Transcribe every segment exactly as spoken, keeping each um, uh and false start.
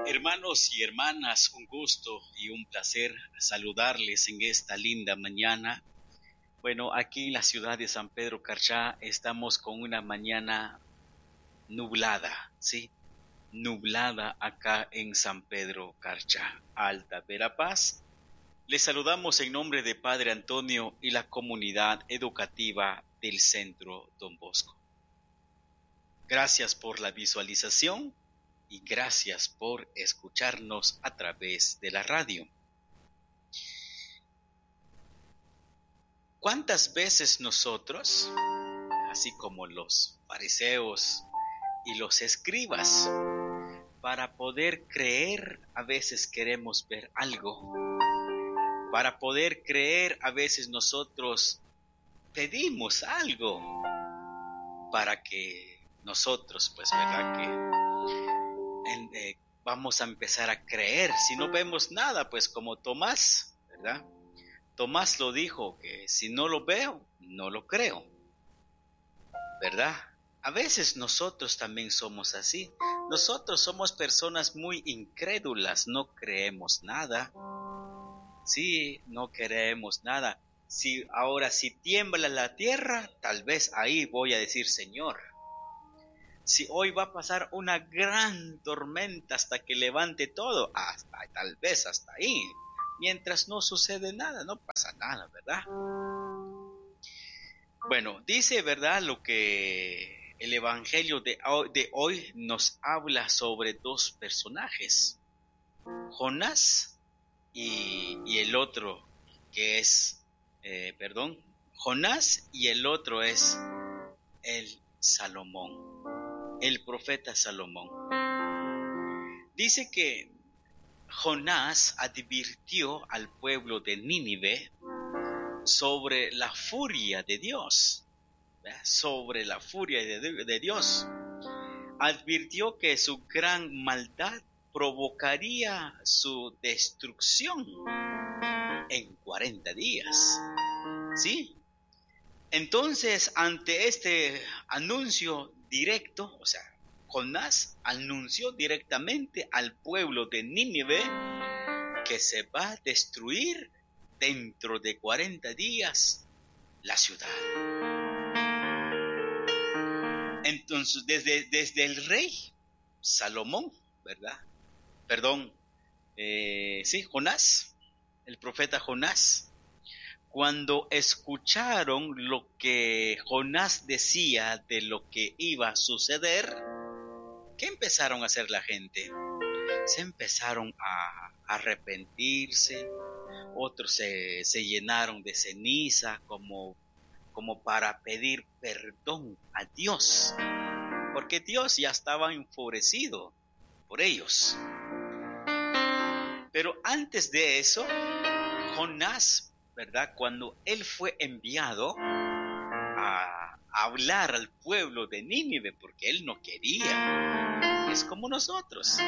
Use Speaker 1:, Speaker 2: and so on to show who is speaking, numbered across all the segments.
Speaker 1: Hermanos y hermanas, un gusto y un placer saludarles en esta linda mañana. Bueno, aquí en la ciudad de San Pedro Carchá estamos con una mañana nublada, ¿sí? Nublada acá en San Pedro Carchá, Alta Verapaz. Les saludamos en nombre de Padre Antonio y la comunidad educativa del Centro Don Bosco. Gracias por la visualización y gracias por escucharnos a través de la radio. ¿Cuántas veces nosotros, así como los fariseos y los escribas, para poder creer a veces queremos ver algo? Para poder creer a veces nosotros pedimos algo para que nosotros, pues, ¿verdad? Que en, eh, vamos a empezar a creer. Si no vemos nada, pues como Tomás, ¿verdad? Tomás lo dijo, que si no lo veo, no lo creo, ¿verdad? A veces nosotros también somos así. Nosotros somos personas muy incrédulas, no creemos nada. Sí, no creemos nada. Si ahora si tiembla la tierra, tal vez ahí voy a decir, Señor. Si hoy va a pasar una gran tormenta hasta que levante todo, hasta, tal vez hasta ahí. Mientras no sucede nada, no pasa nada, ¿verdad? Bueno, dice, ¿verdad?, lo que el Evangelio de, de hoy nos habla sobre dos personajes, Jonás y, y el otro que es, eh, perdón, Jonás y el otro es el Salomón, el profeta Salomón. Dice que Jonás advirtió al pueblo de Nínive sobre la furia de Dios, ¿verdad? Sobre la furia de, de Dios. Advirtió que su gran maldad provocaría su destrucción en cuarenta días. ¿Sí? Entonces, ante este anuncio directo, o sea, Jonás anunció directamente al pueblo de Nínive que se va a destruir dentro de cuarenta días la ciudad. Entonces, desde, desde el rey Salomón, ¿verdad? Perdón, eh, sí, Jonás, el profeta Jonás, cuando escucharon lo que Jonás decía de lo que iba a suceder, ¿qué empezaron a hacer la gente? Se empezaron a arrepentirse, otros se, se llenaron de ceniza como, como para pedir perdón a Dios, porque Dios ya estaba enfurecido por ellos. Pero antes de eso, Jonás, ¿verdad? Cuando él fue enviado a hablar al pueblo de Nínive, porque él no quería, es como nosotros,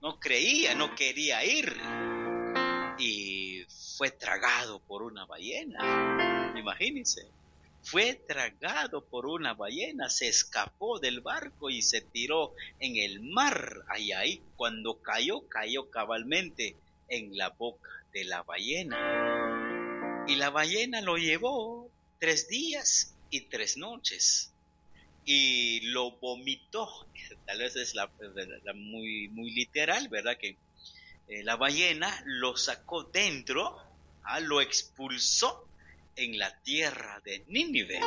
Speaker 1: no creía, no quería ir, y fue tragado por una ballena, imagínense, fue tragado por una ballena, se escapó del barco y se tiró en el mar, ahí, ahí, cuando cayó, cayó cabalmente en la boca de la ballena, y la ballena lo llevó tres días y tres noches, y lo vomitó. Tal vez es la, la muy, muy literal, ¿verdad? Que eh, la ballena lo sacó dentro, ah, lo expulsó en la tierra de Nínive.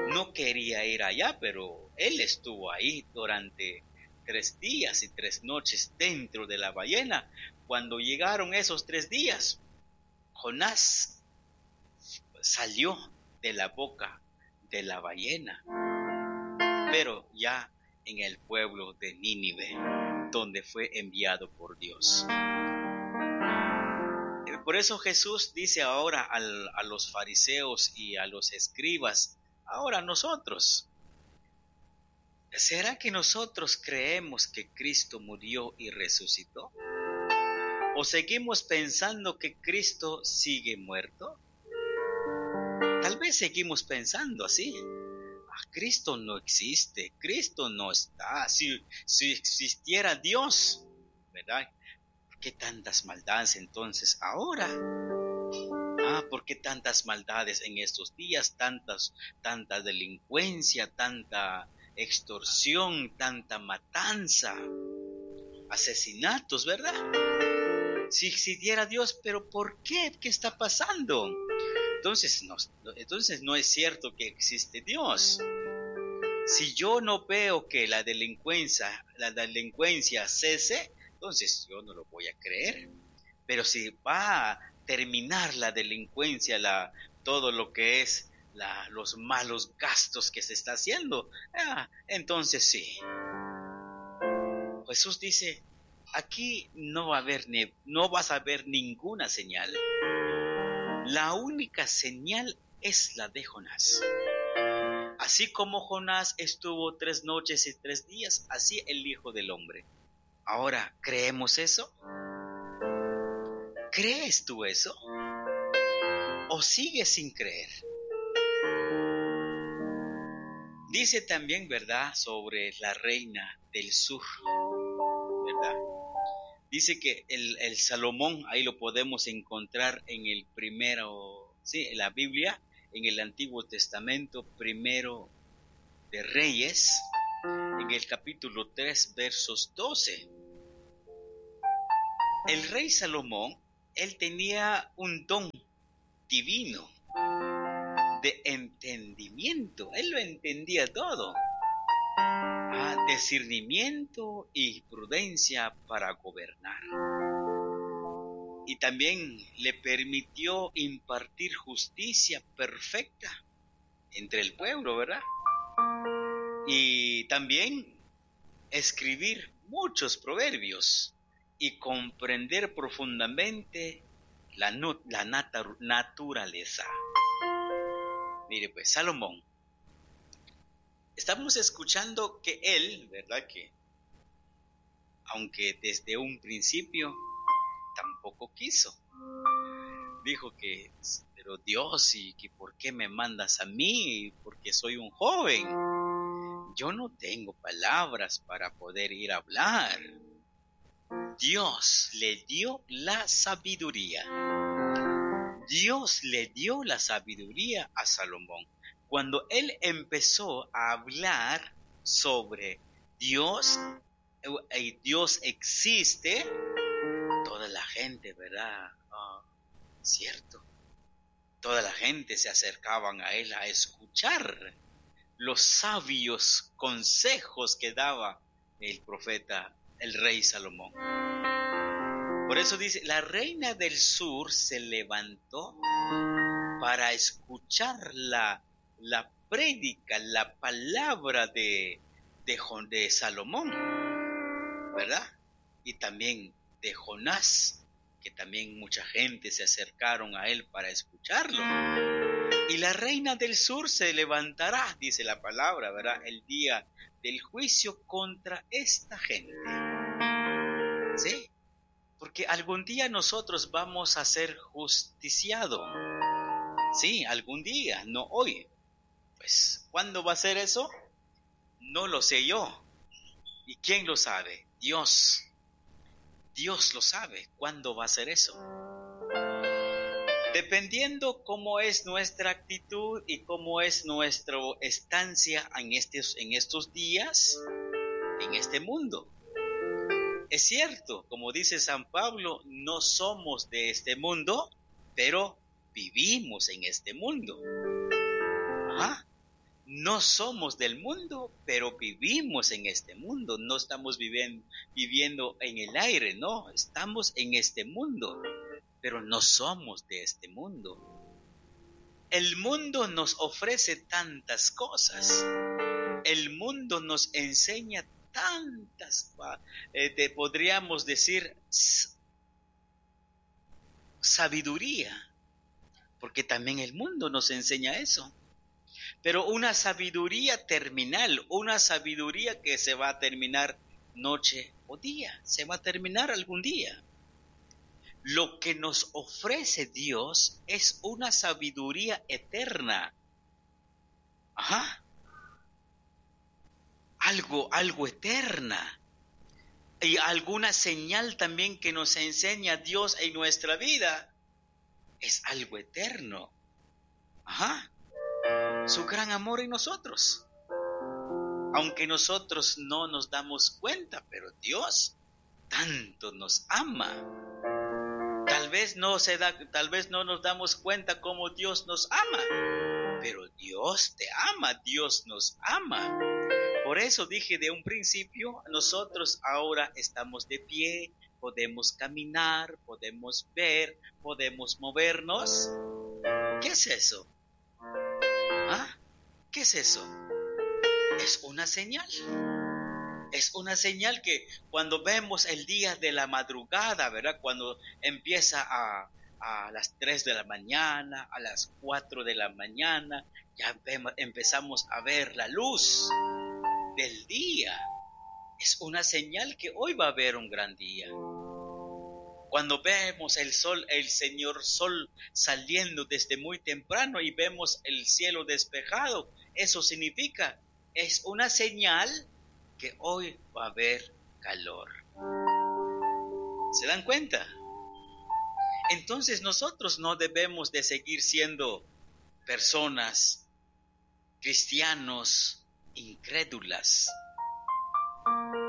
Speaker 1: No quería ir allá, pero él estuvo ahí durante tres días y tres noches dentro de la ballena. Cuando llegaron esos tres días, Jonás salió de la boca de la ballena, pero ya en el pueblo de Nínive, donde fue enviado por Dios. Por eso Jesús dice ahora al, a los fariseos y a los escribas, ahora nosotros, ¿será que nosotros creemos que Cristo murió y resucitó? ¿O seguimos pensando que Cristo sigue muerto? Tal vez seguimos pensando así. Ah, Cristo no existe, Cristo no está. Si, si existiera Dios, ¿verdad? ¿Por qué tantas maldades entonces ahora? Ah, ¿por qué tantas maldades en estos días? Tantas, tanta delincuencia, tanta extorsión, tanta matanza, asesinatos, ¿verdad? Si existiera Dios, pero ¿por qué? ¿Qué está pasando? Entonces no, entonces no es cierto que existe Dios. Si yo no veo que la delincuencia, la delincuencia cese, entonces yo no lo voy a creer. Pero si va a terminar la delincuencia, la, todo lo que es la, los malos gastos que se está haciendo, ah, entonces sí. Jesús dice, aquí no va a haber ni, no vas a ver ninguna señal. La única señal es la de Jonás. Así como Jonás estuvo tres noches y tres días, así el Hijo del Hombre. Ahora, ¿creemos eso? ¿Crees tú eso? ¿O sigues sin creer? Dice también, ¿verdad?, sobre la reina del sur, ¿verdad? Dice que el, el Salomón, ahí lo podemos encontrar en el primero, sí, en la Biblia, en el Antiguo Testamento, primero de Reyes, en el capítulo tres, versos doce. El rey Salomón, él tenía un don divino de entendimiento, él lo entendía todo. Ah, discernimiento y prudencia para gobernar. Y también le permitió impartir justicia perfecta entre el pueblo, ¿verdad? Y también escribir muchos proverbios y comprender profundamente la, la nat- naturaleza. Mire pues, Salomón. Estamos escuchando que él, ¿verdad? Que aunque desde un principio tampoco quiso. Dijo que, pero Dios, ¿y que por qué me mandas a mí? Porque soy un joven. Yo no tengo palabras para poder ir a hablar. Dios le dio la sabiduría. Dios le dio la sabiduría a Salomón. Cuando él empezó a hablar sobre Dios, y Dios existe, toda la gente, ¿verdad? Oh, cierto. Toda la gente se acercaban a él a escuchar los sabios consejos que daba el profeta, el rey Salomón. Por eso dice, la reina del sur se levantó para escuchar la, la prédica, la palabra de, de, de Salomón, ¿verdad? Y también de Jonás, que también mucha gente se acercaron a él para escucharlo. Y la reina del sur se levantará, dice la palabra, ¿verdad? El día del juicio contra esta gente. ¿Sí? Porque algún día nosotros vamos a ser justiciados. Sí, algún día, no hoy. Pues, ¿cuándo va a ser eso? No lo sé yo. ¿Y quién lo sabe? Dios. Dios lo sabe cuándo va a ser eso. Dependiendo cómo es nuestra actitud y cómo es nuestra estancia en estos, en estos días, en este mundo. Es cierto, como dice San Pablo, no somos de este mundo, pero vivimos en este mundo. Ajá. No somos del mundo, pero vivimos en este mundo. No estamos viviendo, viviendo en el aire, no. Estamos en este mundo, pero no somos de este mundo. El mundo nos ofrece tantas cosas. El mundo nos enseña tantas, eh, te podríamos decir, sabiduría, porque también el mundo nos enseña eso. Pero una sabiduría terminal, una sabiduría que se va a terminar noche o día, se va a terminar algún día. Lo que nos ofrece Dios es una sabiduría eterna. Ajá. Algo, algo eterna. Y alguna señal también que nos enseña Dios en nuestra vida es algo eterno. Ajá. Su gran amor en nosotros. Aunque nosotros no nos damos cuenta, pero Dios tanto nos ama. Tal vez no se da, tal vez no nos damos cuenta cómo Dios nos ama, pero Dios te ama, Dios nos ama. Por eso dije de un principio, nosotros ahora estamos de pie, podemos caminar, podemos ver, podemos movernos. ¿Qué es eso? ¿Ah? ¿Qué es eso? Es una señal. Es una señal que cuando vemos el día de la madrugada, ¿verdad? Cuando empieza a, a las tres de la mañana, a las cuatro de la mañana, ya vemos, empezamos a ver la luz del día. Es una señal que hoy va a haber un gran día. Cuando vemos el sol, el señor sol saliendo desde muy temprano y vemos el cielo despejado, eso significa, es una señal que hoy va a haber calor. ¿Se dan cuenta? Entonces nosotros no debemos de seguir siendo personas, cristianos, incrédulas.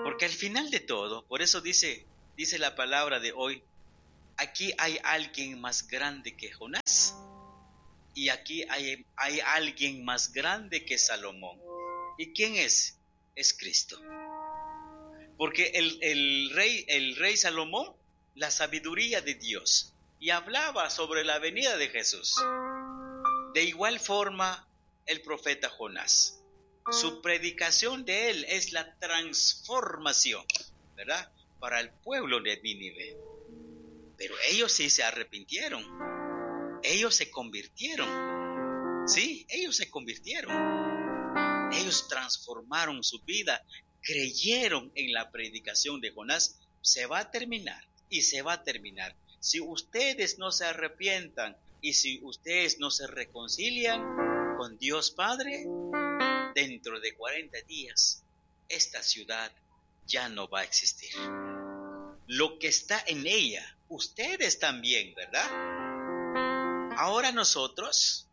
Speaker 1: Porque al final de todo, por eso dice, dice la palabra de hoy, aquí hay alguien más grande que Jonás y aquí hay, hay alguien más grande que Salomón. ¿Y quién es? Es Cristo. Porque el, el, rey, el rey Salomón, la sabiduría de Dios, y hablaba sobre la venida de Jesús. De igual forma, el profeta Jonás. Su predicación de él es la transformación, ¿verdad? Para el pueblo de Nínive. Pero ellos sí se arrepintieron. Ellos se convirtieron. Sí, ellos se convirtieron. Ellos transformaron su vida, creyeron en la predicación de Jonás. Se va a terminar y se va a terminar. Si ustedes no se arrepientan y si ustedes no se reconcilian con Dios Padre, dentro de cuarenta días esta ciudad ya no va a existir. Lo que está en ella, ustedes también, ¿verdad? Ahora nosotros,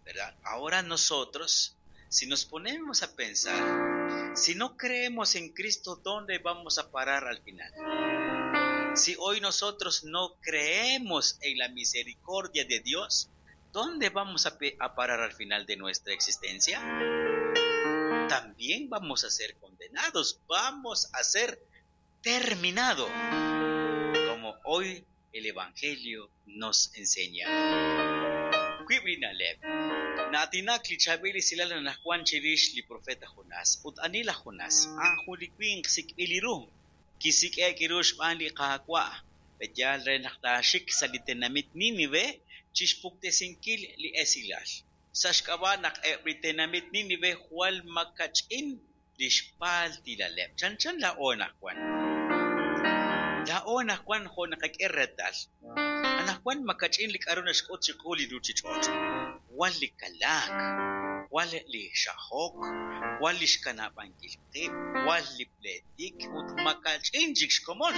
Speaker 1: ¿verdad? Ahora nosotros, si nos ponemos a pensar, si no creemos en Cristo, ¿dónde vamos a parar al final? Si hoy nosotros no creemos en la misericordia de Dios, ¿dónde vamos a, a parar al final de nuestra existencia? También vamos a ser condenados, vamos a ser terminados, como hoy el Evangelio nos enseña. Naatinak li chaab'il esilal anaqwan chirix li profeta Jonás ut ani laj Jonás a'an jun li winq sik'b'il ru kisik'e'k ru xb'aan li Qaawa' peyaal re naq taaxik sa' li tenamit Nínive chixpuktesinkil li esilal sa' xk'ab'a' naq eb' li tenamit Nínive jwal makach'in li xpaaltilaleb' chanchan laa'o anaqwan laa'o anaqwan jo' naqak'e reetal anaqwan makach'in li k'aru naxk'ut chiqu li ruuchich'och' jwal li kalaak, jwal li xajok, jwal li xkanab'ankil qib', jwal li pleetik ut makach'in chik xkomon.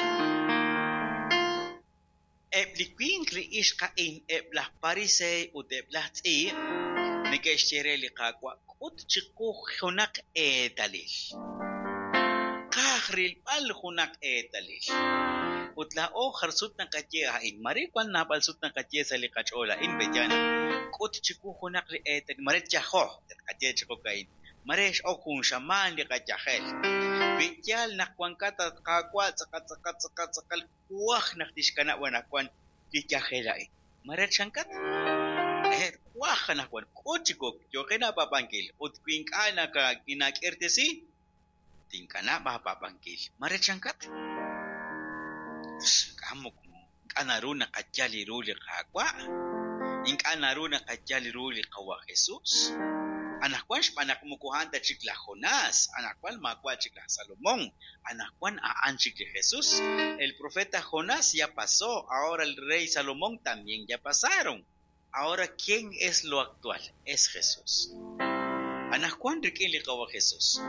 Speaker 1: Eb' li winq li ixq a'in, eb' laj pariseey ut eb' laj tz'iib' neke'xye re li Qaawa' k'ut chiqu junaq eetalil. Qaj rilb'al junaq eetalil. Ut laa'o jar sut naqaye a'in, mare wan naab'al sut naqaye sa' li qach'ool a'in b'eyana. K'ut chiqu junaq li eetalil, mare yajo, qaye chiqu ka'in. Mare x'ok jun xamaan li qayajel. Wi yaal naq wankat Qaawa' tz'aqal tz'aqal tz'aqal tz'aqal kuaj naq tixkanab' anaqwan li yajel a'in. Mare chankat? Eh, kuaj anaqwan k'ut chiqu yooqin aapab'ankil ut wi ink'a' nakinak'irtesi tinkanab' aapab'ankil. Mare chankat? Ink'a' naru naqayal ru li Qaawa', ink'a' naru naqayal ru li Qawa' Jesús. Anaqwan xb'aan naq moko a'an ta chik laj Jonás, anaqwan maawa' chik laj Salomón, anaqwan a'an chik li Jesús. El profeta Jonás ya pasó, ahora el rey Salomón también ya pasaron. Ahora, ¿quién es lo actual? Es Jesús. Anaqwan rik'in li Qawa' Jesús.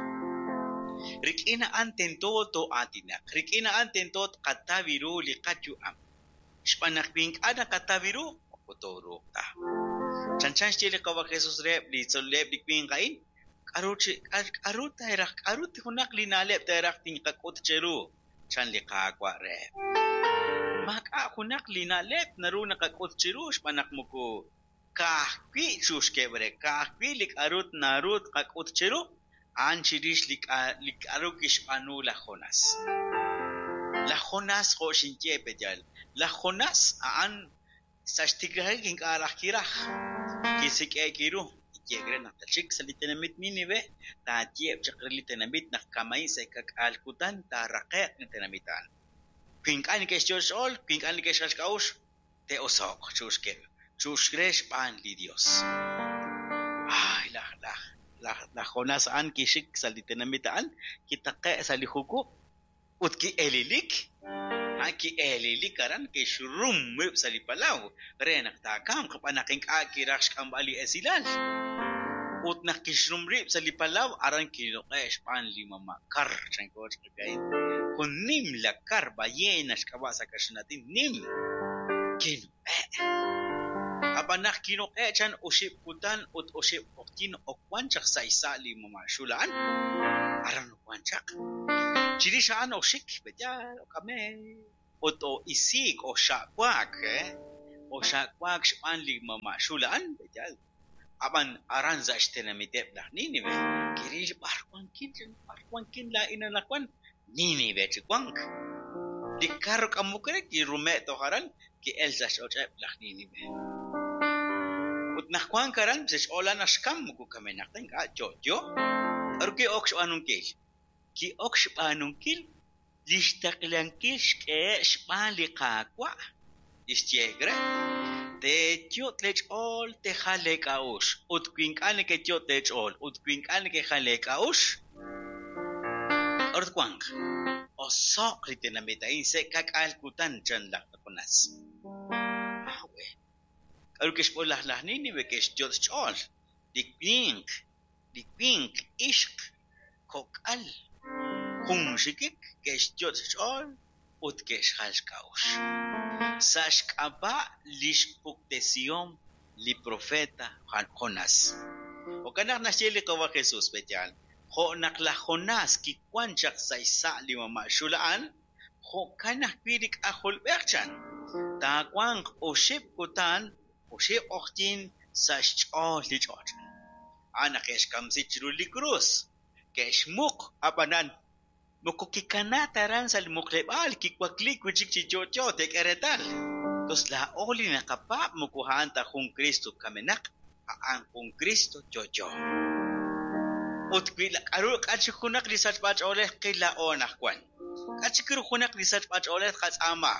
Speaker 1: Rik'in a'an tento too'aatinaq, rik'in a'an tento tqataw ru li qayu'am. Xb'aan naq wi ink'a' naqataw ru, moko tooruuq ta. Chanchan xye li Qawa' Jesus reheb' li tzol'leb' li winq a'in, k'aru chi k'aru teeraj, k'aru junaq li na'leb' teeraj tinqak'ut cheru, chan li Qaawa' reheb'. Maak'a' junaq li na'leb' naru naqak'ut chiru xb'aan naq moko ka'ajwi' chuxkeb' re, ka'ajwi' li k'aru naru tqak'ut chiru, a'an chirix li li k'aru kixb'aanu laj Jonás. Laj Jonás jo' xinye peyal, laj Jonás a'an sa' xtiklajik ink'a' raj kiraj, kisik'e'k ru, kiyeek re naq tachik sa' li tenamit Nínive, taayeb' chaq re li tenamit naq kama'in sa' ka'k'aal kutan taaraqe'q li tenamit a'an. Wi ink'a' neke'xyot' xch'ool, wi ink'a' neke'xjal xk'a'uxl, te'oso'q chuxkeb', chuxre xb'aan li Dios. Ay, laj laj laj laj Jonás a'an kixik sa' li tenamit a'an, kitaqe' sa' li jukub' ut ki'elilik. A'an ki'elilik aran kixrum rib' sa' li palaw re naq taakamq xb'aan naq ink'a' kiraj xk'amb'al li esilal. Ut naq kixrum rib' sa' li palaw aran kinuq'e' xb'aan li mama' kar chanko ch'aka'in. Jun nimla kar ballena xk'ab'a' sa' kaxlan nim kinuq'e'. Ab'an naq kinuq'e' chan oxib' kutan ut oxib' q'oqyink owan chaq sa' xsa' li mama' xul a'an. Aran owan chaq. Chirix a'an oxik b'eyal ok'ame ut o'isiik oxa'waak, eh? Oxa'waak xb'aan li mama' xul a'an b'eyal. Ab'an aran sa' xtenamiteb' laj Nínive kiril b'ar wankin b'ar wankin laa'in anaqwan Nínive chi wank. Li kar k'amok re kirume' toj aran ki'el sa' xch'och'eb' laj Nínive. Ut naq wank aran sa' xch'ool a'an naq xkam moko kamenaq ta ink'a' yo'yo. K'aru ki'ok xb'aanunkil? Ki'ok xb'aanunkil li xtaqlankil xk'ehe' xb'aan li Qaawa' li xyeek re. Teeyot' leech'ool tejal leek'a'uxl ut wi ink'a' nekeyot' leech'ool ut wi ink'a' nekejal leek'a'uxl, k'aru twanq? Oso'q li tenamit a'in sa' ka'k'aal kutan chan laj Jonás. Awe. K'aru kixb'ool laj laj Nínive ke'xyot' xch'ool li winq, li winq ixq kok'al junxikik ke'xyot' xch'ool ut ke'xjal xk'a'uxl. Sa' xk'ab'a' li xpuktesihom li profeta Jonás. Jo'kan naq naxye li Qawa' Jesus b'eyal, jo' naq laj Jonás kiwan chaq sa' xsa' li mama' xul a'an, jo'kan ajwi' li k'ajolb'ej chan. Taawanq oxib' kutan, oxib' q'oqyink sa' xch'ool li ch'och'. A'an naq ke'xkamsi chiru li krus, ke'xmuq ab'anan moko kikanaak aran sa' li muqleb'aal kiwakliik wi' chik chi yo'yo teek'e reetal. Tos laa'o li naqapaab' moko a'an ta jun Cristo kamenaq, a'an jun Cristo yo'yo. Ut wi k'aru k'a chik junaq li sachb'ach'oolej qil laa'o anaqwan. K'a chik ru junaq li sachb'ach'oolej qatz'aama.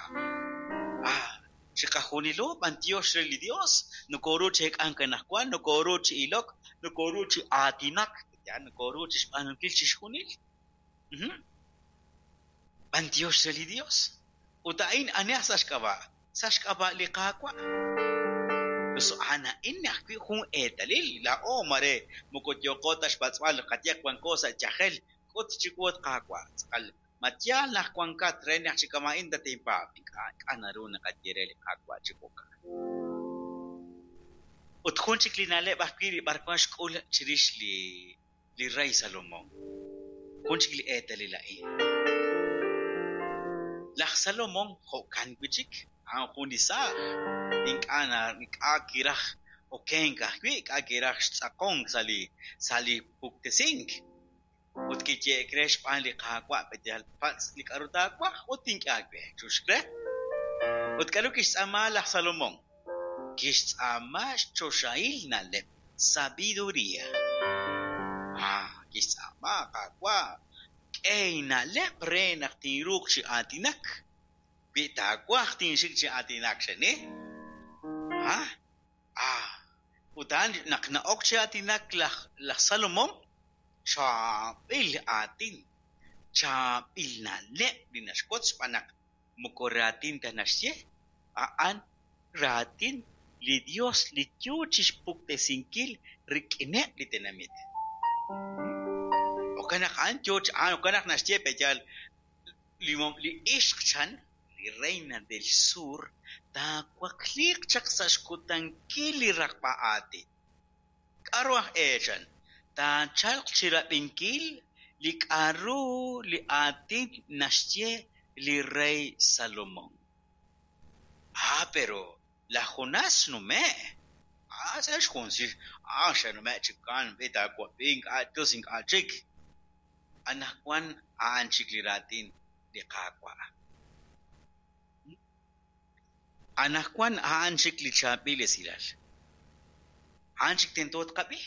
Speaker 1: Ah, chiqajunilo b'antiox re li Dios, nokoru chi eek'ank anaqwan, nokoru chi ilok, nokoru chi aatinak, ya nokoru chi xb'aanunkil chixjunil. Mhm. B'antiox re li Dios. Ut a'in aneh sa' xk'ab'a', sa' xk'ab'a' li Qaawa'. Tos a'an a'in ajwi' jun eetalil laa'o mare moko yooqo ta xpatz'b'al qayeq wanko sa' yajel k'ut chiwu Qaawa'. Tz'aqal ma yaal naq wankat re naq chi kama'in tatinpaab'. Ink'a' ink'a' naru naqaye re li Qaawa' chi jo'kan. Ut jun chik li na'leb' ajwi' li b'arwan xk'ul chirix li li rey Salomón. Jun chik li eetalil a'in. Laj Salomón jo'kan wi' chik a'an jun li saaj. Ink'a' na ink'a' kiraj okenk ajwi', ink'a' kiraj xtz'aqonk sa' li sa' li puktesink. Ut kiyeek re xb'aan li Qaawa' b'eyal patz' li k'aru taawaj ut tink'e aawe chuxk re. Ut k'aru kixtz'aama laj Salomón? Kixtz'aama xchoxahil na'leb', sabiduría. Ah, kixtz'aama Qaawa' k'e inna'leb' re naq tinruuq chi aatinak. Wi taawaj tinxik chi aatinak xeni. Ah, ah. Ut a'an naq na'ok chi aatinak laj laj Salomón, chaab'il aatin, chaab'il na'leb' li naxwotz xb'aan naq moko raatin ta naxye, a'an raatin li Dios li yo chi xpuktesinkil rik'ineb' li tenamit. Jo'kan naq a'an yoo a'an jo'kan naq naxye pe'yaal li li ixq chan, li reina del sur, taawakliiq chaq sa' xkutankil li raqb'a aatin. K'aru aj e chan? Taachalq chirab'inkil li k'aru li aatin naxye li rey Salomón. Ah, pero laj Jonás xnume'. Ah, sa' xjunsil. Ah, xe'nume' chikan, b'i taawab'i ink'a' tus ink'a' chik. Anaqwan a'an chik li raatin li Qaawa'. Anaqwan a'an chik li chaab'il esilal. A'an chik tento tqab'i.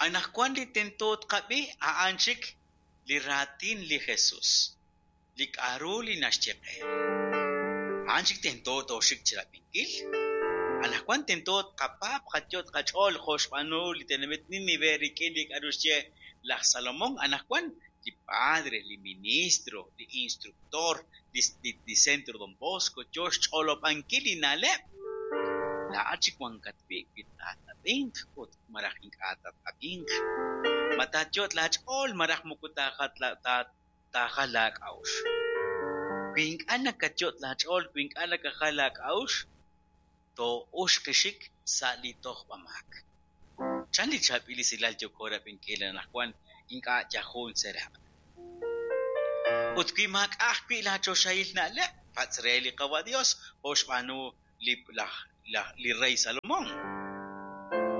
Speaker 1: Anaqwan li tento tqab'i a'an chik li raatin li Jesús. Li k'aru li naxye qe. A'an chik tento tooxik chirab'inkil. Anaqwan tento tqapaab' qayot qach'ool jo' xb'aanu li tenamit Nínive rik'in li k'aru xye laj Salomón. Anaqwan li padre, li ministro, li instructor, li, li, li centro Don Bosco yo xch'olob'ankil li na'leb'. Laa'at chik wankat wi' wi taat'ab'inq ut malaj ink'a' taat'ab'inq. Ma taayot laach'ool malaj moko taajal taajal laak'a'uxl. Wi ink'a' nakayot laach'ool, wi ink'a' nakajal laak'a'uxl, too'uxqixik sa' li tojb'amaak. Chan li chaab'il esilal yooko rab'inkil anaqwan ink'a' yal jun seraq'. Ut wi maak'a' ajwi' laachoxahil na'leb', patz' re li Qawa' Dios jo' xb'aanu li laj laj li rey Salomón.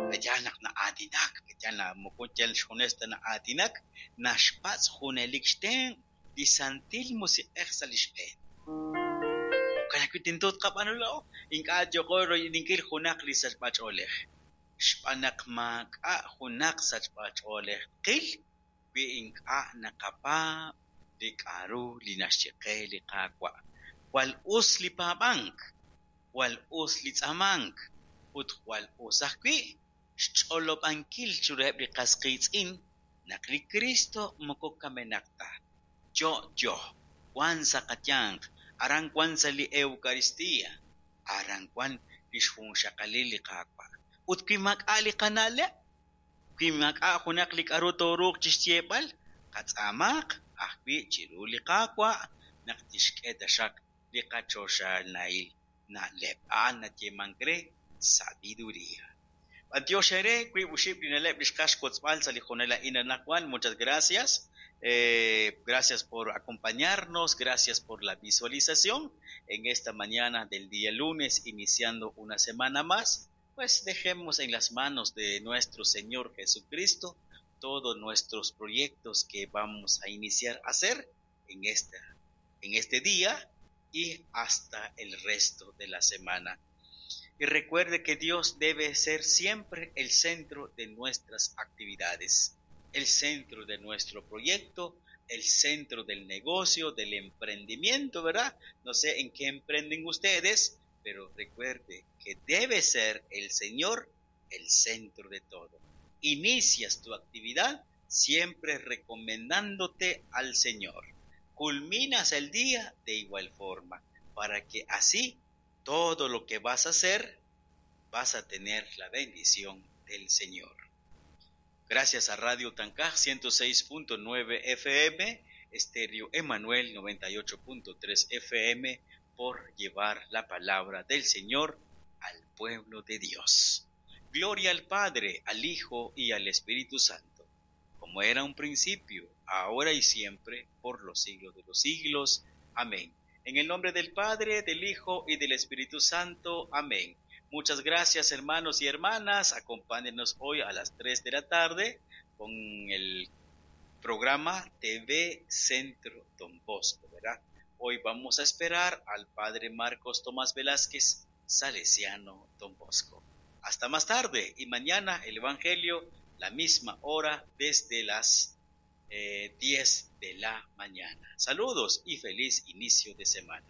Speaker 1: Pe'yaal naq na'aatinak, pe'yaal naq moko yal xjunes ta na'aatinak, naxpatz' junelik xtenq' li Santil Musiq'ej sa' li xb'een. Jo'kan ajwi' tento tqab'aanu laa'o, ink'a' yooqo royb'eninkil junaq li sachb'ach'oolej. Xb'aan naq maak'a' junaq sachb'ach'oolej tqil wi ink'a' naqapaab' li k'aru li naxye qe li Qaawa'. Jwal us li paab'ank, jwal us li tz'aamank, ut jwal us ajwi' xch'olob'ankil chiruheb' li qas qiitz'in naq li Cristo moko kamenaq ta. Yo'yo, wan sa' qayanq, aran wan sa' li Eucaristía, aran wan li xjunxaqalil li Qaawa'. Ut wi maak'a' li qana'leb', wi maak'a' junaq li k'aru tooruuq chixyeeb'al, qatz'aamaq ajwi' chiru li Qaawa' naq tixk'e taxaq li qachoxahil na'leb'. A'an nayeemank re sabiduría. B'antiox eere wiib' oxib' li na'leb' li xqaj xwotzb'al sa' li jonel a'in anaqwan. Muchas gracias. Eh, gracias por acompañarnos, gracias por la visualización en esta mañana del día lunes, iniciando una semana más. Pues dejemos en las manos de nuestro Señor Jesucristo todos nuestros proyectos que vamos a iniciar a hacer en esta, en este día y hasta el resto de la semana. Y recuerde que Dios debe ser siempre el centro de nuestras actividades, el centro de nuestro proyecto, el centro del negocio, del emprendimiento, ¿verdad? No sé en qué emprenden ustedes, pero recuerde que debe ser el Señor el centro de todo. Inicias tu actividad siempre recomendándote al Señor. Culminas el día de igual forma, para que así todo lo que vas a hacer, vas a tener la bendición del Señor. Gracias a Radio Tancaj ciento seis punto nueve F M, Estéreo Emanuel noventa y ocho punto tres F M, por llevar la palabra del Señor al pueblo de Dios. Gloria al Padre, al Hijo y al Espíritu Santo, como era un principio, ahora y siempre, por los siglos de los siglos. Amén. En el nombre del Padre, del Hijo y del Espíritu Santo. Amén. Muchas gracias, hermanos y hermanas. Acompáñenos hoy a las tres de la tarde con el programa T V Centro Don Bosco, ¿verdad? Hoy vamos a esperar al Padre Marcos Tomás Velázquez, Salesiano Don Bosco. Hasta más tarde y mañana el Evangelio, la misma hora, desde las, eh, diez de la mañana. Saludos y feliz inicio de semana.